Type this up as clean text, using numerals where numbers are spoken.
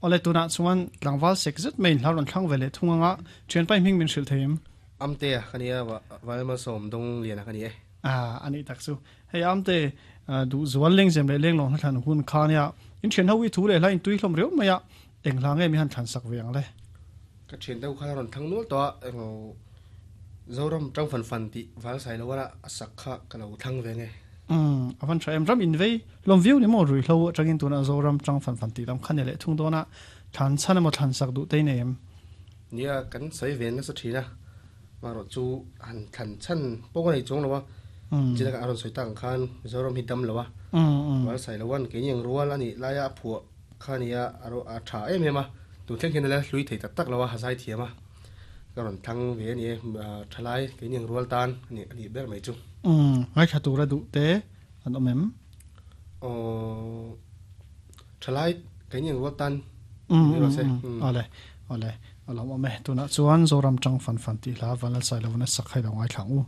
Awle tunah chuan tlangval sek zet mai in hla rawn thlang ve leh thung anga thianpa i hming min hrilh thei em? Amtea ka nia, Valmalsawm Dawngliana ka ni e. A a nih tak chu. Hei Amte, duh zual lengzem leh lenglawng hla thlan hun kha nia in thian ho i thu leh hla in tui hlawm riau mai a, eng hla nge mi han thlan sak ve ang le? Ka thian deuh kha rawn thlang nual tawh a, eng Zoram tang fan fan tih val sai lo a sak kha ka lo thlang ve nge. Umm, a van tha em. Ram in vei hlawm viau ni maw ruihhlo atangin tunah Zoram tang fan fan tih lam kha ni leh thung dawn a, thlan chhan emaw thlan sak duh te i nei em? Nia, kan sawi ve nasa thin a, marawh chu han thlan chhan pawh ka nei chuang lo a, chin a rawn sawi tak ang khan Mizoram hi dam lo a, val sai lo an keini ang rual a nih laia a phuah kha nia a tha em em a, tun thleng hian a la hlui thei tak tak lo a, a zai thiam a, ka rawn thlang ve a ni e, thalai keini ang rual tan a nih ber mai chu. Ngaithla tura duh te an awm em? Aww. Thalai keini ang rual tan ni rawh se. Awle, awle, a lawm awm e. Tunah chuan Zoram tang fan fan tih hla Vanlalsailovana sak hi lo ngaithla ang u.